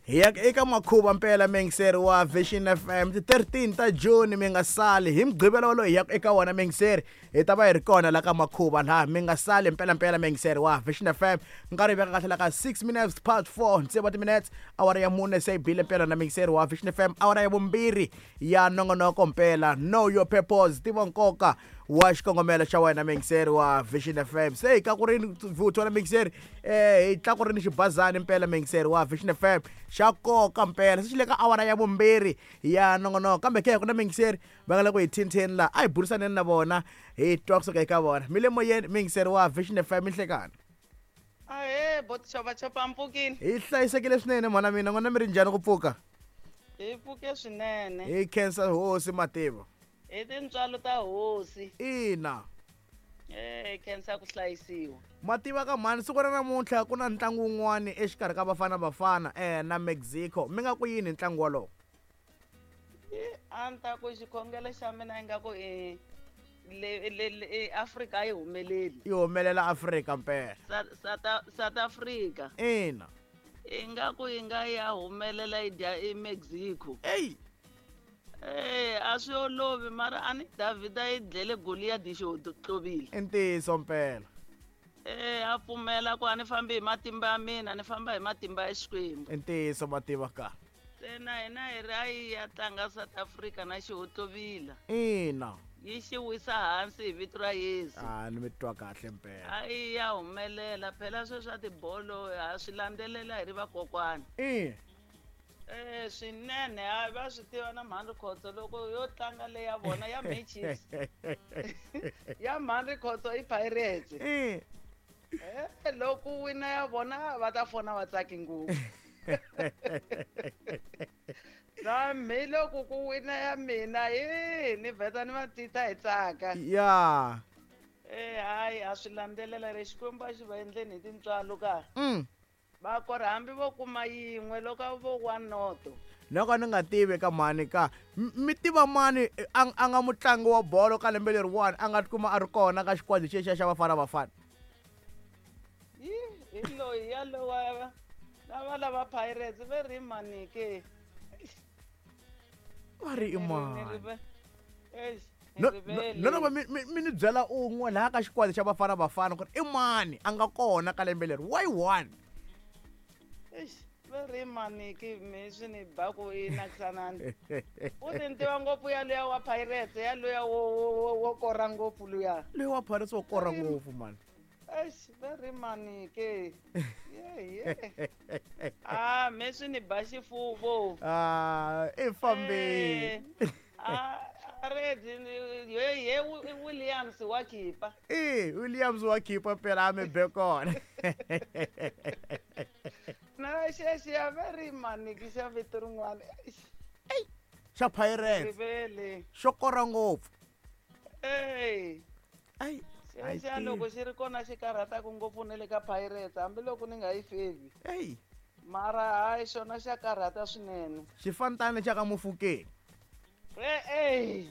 Hi ya eka makhuva mpela miyingiseri wa Vision FM ti 13 ta June mi nga sali hi mugqivela wolowo hi ya eka wona miyingiseri hi ta va hi ri kona la ka makhuva laha mi nga sali mpela mpela miyingiseri wa Vision FM nkarhi veka kahle la ka 6 minutes past 4 tsevu wa timinutes awara ya mune se yi bile mpela na miyingiseri wa Vision FM awara ya vumbirhi ya nongonoko mpela know your purpose tiva nkoka wa xikongomelo xa wena miyingiseri wa Vision FM se hi tlakurini vuthu na miyingiseri hi tlakurini xibazani mpela miyingiseri wa Vision FM xa nkoka mpela se xi le ka awara ya vumbirhi ya nongonoko kambe ke ku na miyingiseri va nga le ku hi thintheni laha a hi burisaneni na vona hi twa kusuka eka vona mi le moyeni miyingiseri wa Vision FM minhlekani. Ahee boti chopachopa mpfukini. Hi hlayisekile swinene mhana mina n'wina mi ri njhani ku pfuka? Hi pfuke swinene. Hi khensa hosi mativa. Hi tintswalo ta hosi. Ina. Hi khensa ku hlayisiwa. Mativa ka mhani siku ra namuntlha ku na ntlangu wun'wani exikarhi ka Bafana Bafana na Mexico mi nga ku yini hi ntlangu wolowo? A ni ta ku xikhongelo xa mina ingaku i le le le Afrika a yi humeleli. Yi humelela Afrika mpela. South Africa. Ina. Ingaku yi nga ya humelela yi dya i Mexico. Eyi. A swi olovi mara a ni Davhida yi dlele Goliath xi tlovile. I ntiyiso mpela. A pfumela ku a ni fambi hi matimba ya mina ni famba hi matimba ya Xikwembu. I ntiyiso mativa ka. Se na hina hi ri a yi ya tlanga South Africa na xihontlovila. Ina. Yi xi wisa hansi hi vito ra Yesu. A ni mi twa kahle mpela. A yi ya humelela phela sweswi swa tibolo ha swi landzelela hi ri vakokwani. Ina. Swinene hayi va swi tiva na mhani Rikhotso loko yo tlanga leyi ya vona ya May Chiefs. Ya mhani Rikhotso i Pirates. Loko wina ya vona va ta fona va tsaki ngopfu. Na mi loko ku wina ya mina hi ni vheta ni va tita hi tsaka. Ya. Hayi a swi landzelela ri Xikwembu a xi va endleni hi tintswalo ka. Va kora hambi vo kuma yin'we loko vo wa noto. Loko ni nga tivi ka mhani ka mi tiva mani a nga mutlangi wa bolo ka lembe leriwani a nga tikuma a ri kona ka xikwadi xexiya xa Bafana Bafana. Hi hi loyi ya lowa lava lava Pirates ve ri mani ke? Va ri i mani? No no mi ni byela un'we laha ka xikwadi xa Bafana Bafana ku ri i mani a nga kona ka lembe leri why one? Eish, ve ri mani ke mi swi ni ba ku i nakisanani. U ti ni tiva ngopfu ya luya wa Pirates ya luya wo kora ngopfu luya. Luya wa Pirates wo kora ngopfu mani. Eish, ve ri mani ke? Ye ye. Ah, me swi ni ba xifuvo. Ah, i fambile. Redi ye ye Williams wa khipa. Williams wa khipa phela a mi be kona. Na xexiya ve ri mani ke xa vito rin'wana. Ey, xa Pirates. Rivele. Xo kora ngopfu. Ey. Ay. Xexiya loko xi ri kona xi karhataka ngopfu na le ka Pirates hambiloko ni nga yi fevi. Ey. Mara hayi xona xa karhata swinene. Xifantani xa ka Mofokeng. Ey.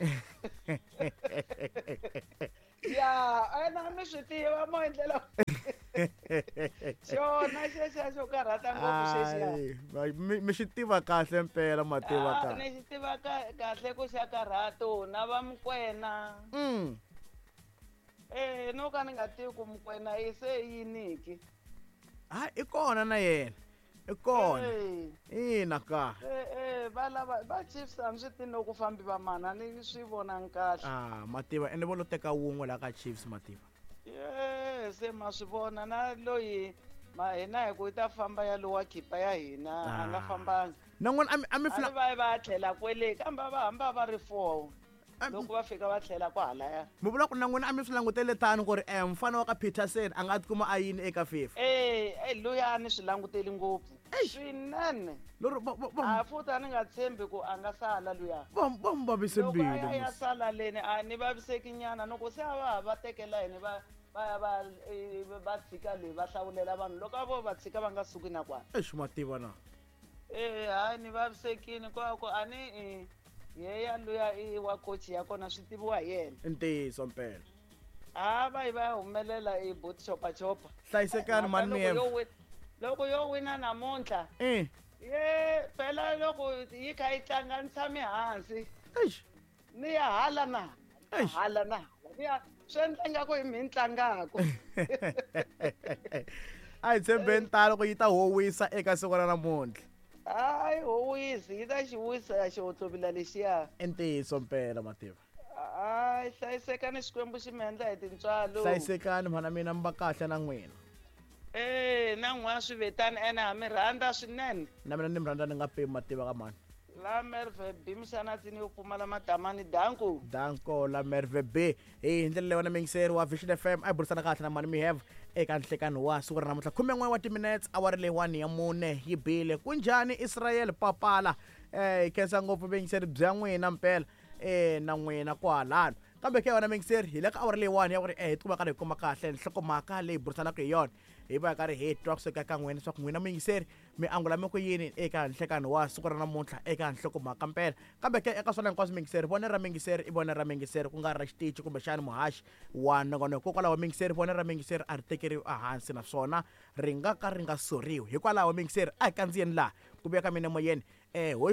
Ya, ena mi swi tiva mo endlela. Xona xexiya xo karhata ngopfu xexiya. Mi xi tiva kahle mpela mativa kahle. Ni xi tiva kahle ku xa karhato na va Mokoena. No ka ni nga tivi ku Mokoena i se yini ki. Ha i kona na yena. I kona. Ina ka. Va lava va Chiefs a swi tivi loko fambi va mana ni swi vonangi kahle. Ah, mativa ende vo lo teka wun'we la ka Chiefs mativa. Se ma swi vona na loyi ma hina hi ku yi ta famba ya lowa khipa ya hina a nga fambanga. Na n'wina a mi a va va tlhela kwele kambe va hamba va ri 4. Loko va fika va tlhela kwahalaya. Mi vula ku na n'wina a mi swi langutele tano ku ri mfana wa ka Peterson a nga tikuma a yini eka FIFA. Luya a ni swi languteli ngopfu. Swinene. Lero a futhi a ni nga tshembi ku a nga sala luya. Va mu vavise mbilu. Loko a ya sala leni a ni vaviseki nyana loko se a va va tekela hina va va va va tshika leyi va hlawulela vanhu loko a vo va tshika va nga suki na kwala. Eish mativa na. Hayi ni vavisekini kwa ku a ni yeya luya i wa coach ya kona swi tiviwa hi yena. Ntiyiso mpela. Ha va yi va humelela i bot chopa chopa. Hlayisekani mani mi Loko yo wina namuntlha. Ye phela loko yi kha yi tlanga ni tshame hansi. Eish. Ni ya hala na Eish. hala na hala. Ni ya swi endla ingaku hi mina ni tlangaka. A hi tshembeni talo ku yi ta howisa eka siku ra namuntlha. Hayi howisi yi ta xi wisa xihotlobila lexiya. I ntiyiso mpela mativa. Hayi hlayisekani Xikwembu xi mi endla hi tintswalo. Hlayisekani mhana mina mi va kahle na n'wina. Na n'wana swi vetani ene ha mi rhandza swinene. Na mina ni mi rhandza ni nga pimi mativa ka mhani. La Merve B Mxanatsini yo pfumala madamani danko. Danko la Merve B. Hi ndlela leyi wena muyingiseri wa Vision FM a hi burisana kahle na mhani Miheve eka nhlekani wa siku ra namuntlha 11 wa timinetse awara leyiwani ya mune yi bile. Kunjhani Israel Papala? Hi khensa ngopfu vuyingiseri bya n'wina mpela na n'wina kwalano. Kambe ke wena muyingiseri hi le ka awara leyiwani ya ku ri hi tikuma karhi hi kuma kahle nhlokomhaka leyi burisanaka hi yona. Hi va karhi hi twa kusuka ka n'wina leswaku n'wina muyingiseri mi angula mi ku yini eka nhlekani wa siku ra namuntlha eka nhlokomhaka mpela. Kambe ke eka swona hinkwaswo muyingiseri, vone ra muyingiseri i vone ra muyingiseri ku nga ri ra xitichi kumbexani muhaxi wa nongonoko. Hikokwalaho muyingiseri vone ra muyingiseri a ri tekeriwi ehansi naswona ri nga ka ri nga soriwi. Hikwalaho muyingiseri a hi kandziyeni laha ku vuya ka mina emoyeni.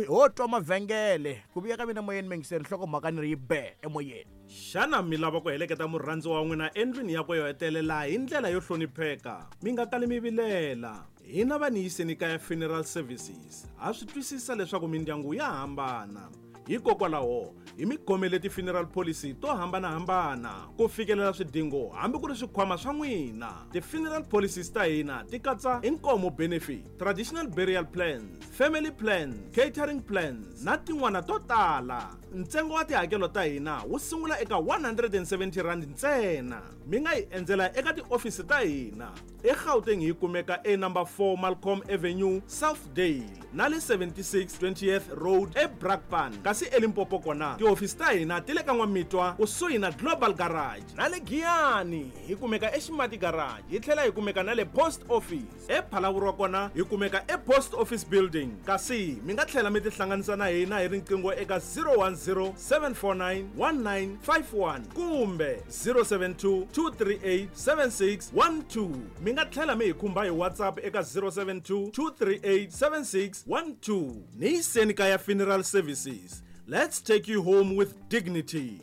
Ho twa mavhengele ku vuya ka mina emoyeni muyingiseri nhlokomhaka ni ri yi be emoyeni. Xana mi lava ku heleketa murhandziwa wa n'wina endlwini yakwe yo hetelela hi ndlela yo hlonipheka? Mi nga kali mi vilela. Hina va Niyiseni Kaya Funeral Services ha swi twisisa leswaku mindyangu ya hambana. Hikokwalaho hi mi khomele ti-funeral policy to hambanahambana ku fikelela swidingo hambi ku ri swikhwama swa n'wina. Ti-funeral policies ta hina ti katsa inkomo benefit, traditional burial plans, family plans, catering plans na tin'wana to tala. Ntsengo wa tihakelo ta hina wu sungula eka 170 rand ntsena. Mi nga hi endzela eka tiofisi ta hina eGauteng hi kumeka e number 4 Malcolm Avenue, Southdale na le 76 20th Road eBrakpan. Kasi eLimpopo kona tihofisi ta hina ti le ka N'wamitwa kusuhi na Global Garage na le Giyani hi kumeka eXimati Garage hi tlhela hi kumeka na le Post Office. ePhalaborwa kona hi kumeka ePost Office Building. Kasi mi nga tlhela mi tihlanganisa na hina hi riqingho eka 010 749 1951 kumbe 072 238 7612. Mi nga tlhela mi hi khumba hi WhatsApp eka 072 238 7612. Niyiseni Kaya Funeral Services. Let's take you home with dignity.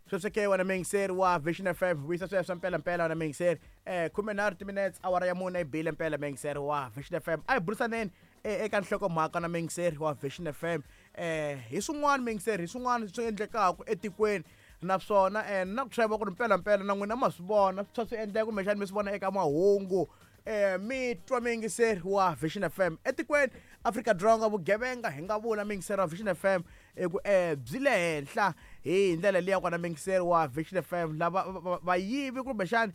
Sweswo ke wena muyingiseri wa Vision FM vuyisa sweswo mpela mpela wena muyingiseri. 13 timinetse awara ya mune yi bile mpela muyingiseri wa Vision FM. A hi burisaneni eka nhlokomhaka na muyingiseri wa Vision FM. Hi swin'wana muyingiseri, hi swin'wana swi endlekaka etikweni naswona na ku tshemba ku ri mpela mpela na n'wina ma swi vona swi swi endleka kumbexani mi swi vona eka mahungu. Mi twa muyingiseri wa Vision FM etikweni Afrika-Dzonga vugevenga hi nga vula muyingiseri wa Vision FM i ku byi le henhla hi ndlela liya kona muyingiseri wa Vision FM lava vayivi kumbexani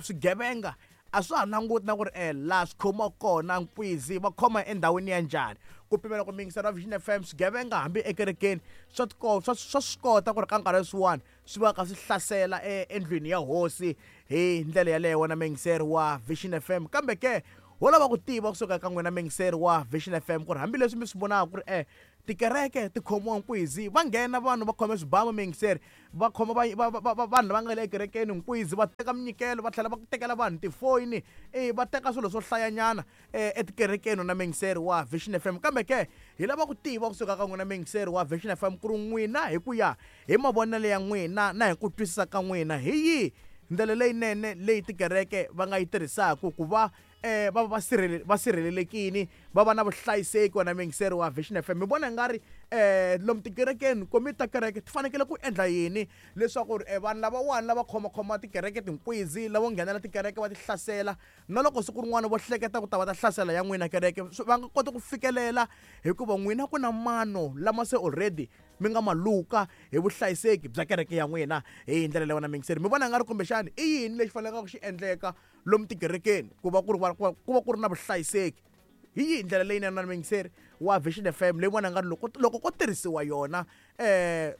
swigevenga a swa ha languti na ku ri laha swi khomiwaka kona nkwizi va khoma endhawini ya njhani. Ku pimela ku muyingiseri wa Vision FM swigevenga hambi ekerekeni swa swi kota ku ri ka nkarhi swin'wana swi va ka swi hlasela endlwini ya hosi hi ndlela yaleyo wena muyingiseri wa Vision FM. Kambe ke ho lava ku tiva kusuka ka n'wina muyingiseri wa Vision FM ku ri hambileswi mi swi vonaka ku ri tikereke ti khomiwa nkwizi va nghena vanhu va khome swibamu muyingiseri va khoma vanhu lava nga le ekerekeni nkwizi va teka minyikelo va tlhela va tekela vanhu tifoyini va teka swilo swo hlayanyana etikerekeni na muyingiseri wa Vision FM. Kambe ke hi lava ku tiva kusuka ka n'wina muyingiseri wa Vision FM ku ri n'wina hi ku ya hi mavonelo ya n'wina na hi ku twisisa ka n'wina hi yihi ndlela leyinene leyi tikereke va nga yi tirhisaka ku va va va va sirhelelekini va va na vuhlayiseki wena muyingiseri wa Vision FM. Mi vona nga ri lomu tikerekeni komiti ta kereke ti fanekele ku endla yini leswaku ri vanhu lavawani lava khomakhoma tikereke tinkwizi lavo nghenela tikereke va ti hlasela na loko siku rin'wana vo hleketa ku ta va ta hlasela ya n'wina kereke va nga koti ku fikelela hikuva n'wina ku na mano lama se already mi nga maluka hi vuhlayiseki bya kereke ya n'wina hi ndlela leyi wena muyingiseri. Mi vona nga ri kumbexani i yini lexi faneleke ku xi endleka lomu tikerekeni ku va ku ri ku va ku ri na vuhlayiseki? Hi yihi ndlela leyinene na muyingiseri wa Vision FM leyi vona nga ri loko ko tirhisiwa yona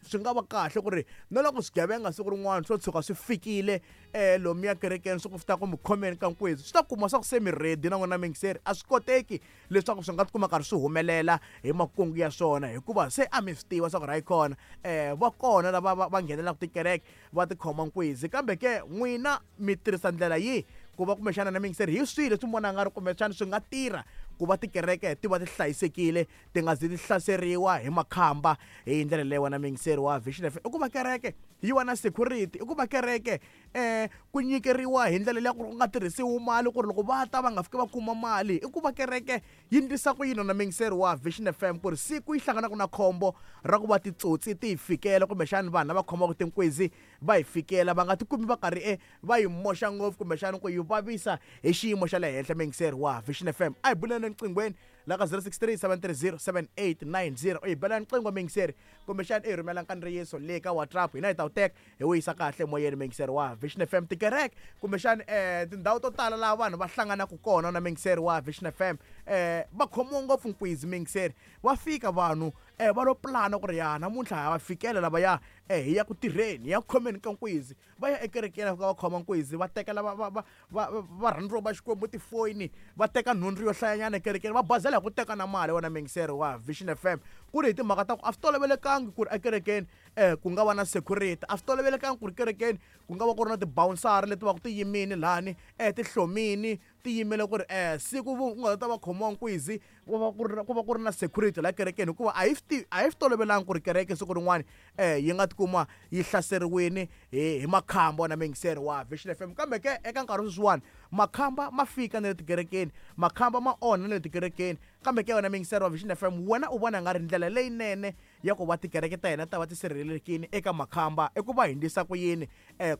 swi nga va kahle ku ri na loko swigevenga siku rin'wana swo tshuka swi fikile lomuya kerekeni swi ku ta ku mi khomeni ka nkwizi swi ta kuma swa ku se mi ready na n'wina muyingiseri. A swi koteki leswaku swi nga tikuma karhi swi humelela hi makungu ya swona hikuva se a mi swi tiva swa ku ri hayi kona va kona lava va nghenelaka tikereke va tikhoma nkwizi. Kambe ke n'wina mi tirhisa ndlela yihi Ku va kumbexana na mingiseri hi swihi leswi mi vona nga ri kumbexana swi nga tirha ku va tikereke ti va ti hlayisekile, ti nga zi ti hlaseriwa hi makhamba hi ndlela leyi wena mingiseri wa Vision FM? I ku va kereke yi va na security, i ku va kereke ku nyikeriwa hi ndlela leya ku ri ku nga tirhisiwi mali, ku ri loko va ta va nga fiki va kuma mali. I ku va kereke yi ndlisa ku yini na mingiseri wa Vision FM, ku ri siku yi hlanganaka na khombo ra ku va titsotsi ti hi fikela, kumbexani vanhu lava khomaka tinkwezi va hi fikela, va nga tikumi va karhi va yi moxa ngopfu, kumbexani ku yi vavisa hi xiyimo xa le henhla? Mingiseri wa Vision FM, a hi buleni enqinghweni la ka 063 730 7890. U hi bela nqingho mingiseri, kumbexani i hi rhumela nkandziyiso le ka WhatsApp, hina hi ta wu teka hi wu yisa kahle moyeni. Mingiseri wa Vision FM, tikereke kumbexani tindhawu to tala laha vanhu va hlanganaka kona na mingiseri wa Vision FM, va khomiwa ngopfu nkwizi mingiseri. Va fika vanhu va lo pulana ku ri ya namuntlha ha va fikela lavaya, hi ya ku tirheni, hi ya ku khomeni ka nkwizi. Va ya ekerekeni, va fika va khoma nkwizi, va tekela varhandziwa va Xikwembu tifoyini, va teka nhundzu yo hlayanyana ekerekeni, va bazela hi ku teka na mali. Wena mingiseri wa Vision FM, ku ri hi timhaka ta ku a swi tolovelekangi ku ri ekerekeni ku nga va na security, a swi tolovelekangi ku ri kerekeni ku nga va ku ri na tibawunsari leti va ku ti yimini lani, ti hlomini, ti yimele ku ri siku ku nga ta va khomiwa nkwizi ku va ku ri na security la kerekeni, hikuva a hi swi tolovelangi ku ri kereke siku rin'wani yi nga tikuma yi hlaseriwini hi makhamba na mingiseri wa Vision FM. Kambe ke eka nkarhi sweswiwani makhamba ma fika na le tikerekeni, makhamba ma onha na le tikerekeni. Kambe ke wena mingiseri wa Vision FM, wena u vona nga ri ndlela leyinene ya ku va tikereke ta hina ta va ti sirhelelekini eka makhamba i ku va hi ndlisa ku yini,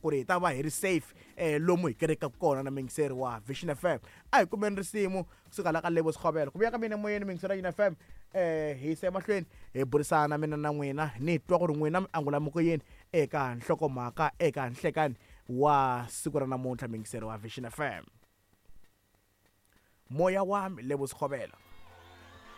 ku ri hi ta va hi ri safe lomu hi kerekaka kona na mingiseri wa Vision FM? A hi kumeni risimu kusuka la ka Lebo Sekgobela. Ku vuya ka mina emoyeni mingiseri ya FM, hi yisa emahlweni hi burisana mina na n'wina, ni twa ku ri n'wina mi angula mi ku yini eka nhlokomhaka eka nhlekani wa siku ra namuntlha. Mingiseri wa Vision FM, Moya Wami, Lebo Sekgobela.